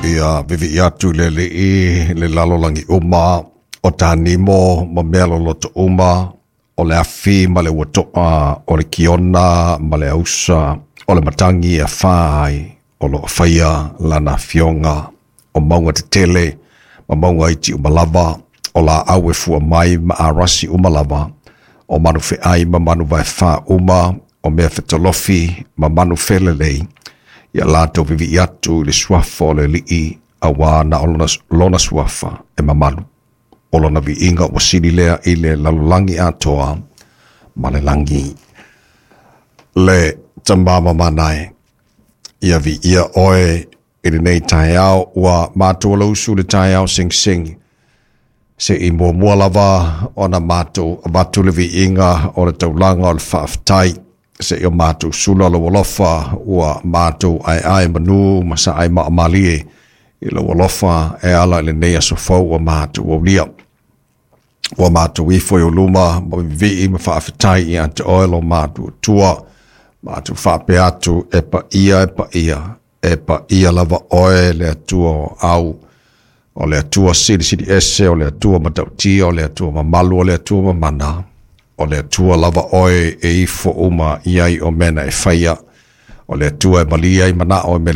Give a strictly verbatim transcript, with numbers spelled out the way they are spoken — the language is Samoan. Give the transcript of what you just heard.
Ia vivi'i atu i le Alii le lalolagi uma, o tanimo ma mea loloto uma, o le afi ma le uato'a, o le kiona ma le ausa, o le matagi e afā ai, o loo faia lana afioga, o mauga tetele ma mauga iti uma lava, o laau e fua mai ma arasi uma lava, o manu feai ma manu vaefā uma, o mea fetolofi ma manu felelei, ia latou vivi'i atu i le suafa o le Alii, auā na o lona, lona suafa e mamalu. O lona viiga ua sili lea i le lalolagi atoa ma le lagi. Le Tama mamanae, ia viia oe i lenei taeao ua matou alausu le taeao segisegi se'i muamua lava ona matou avatu le viiga o le taulaga o le faafetai se'i o matou sula lou alofa ua matou aeae manu ma saai maamalie i lou alofa e ala i lenei aso fou ua matou aulia. Ua matou ifo i ou luma ma vivii ma faafetai ia te oe lo matou Atua. Matou faapea atu e paia e paia e paia lava oe le Atua o au, o le Atua silisili ese, o le Atua matautia, o le Atua mamalu, o le Atua mamana, o le Atua lava oe e ifo uma i ai o mea na e faia, o le Atua e malie ai manao e mea.